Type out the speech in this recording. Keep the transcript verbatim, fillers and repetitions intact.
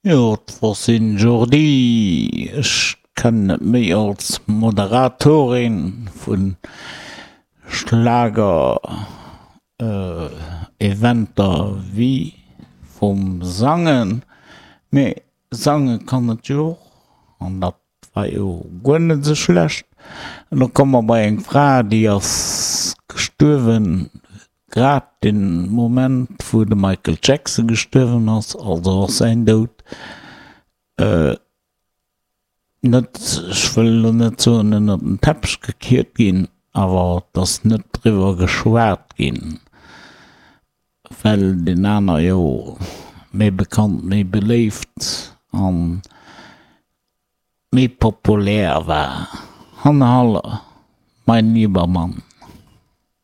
Jo, d'Francine Jourdy, ech kennen et méi als Moderatorin vu Schlager Eventer wéi vum Sangen, mee sange kann et jo och, an dat war jo guer net esou schlecht. An da komme mer bei eng Fra, déi ass gestuerwen Grad den Moment wou de Michael Jackson gestuerwen ass, also ass säin Doud net, ech wëll elo net soen ënnert den Teppech gekiert ginn, awer et ass net driwwer geschwat ginn, well deen aner jo méi bekannt, méi beléift an méi populär war. Hanne Haller, Mein lieber Mann.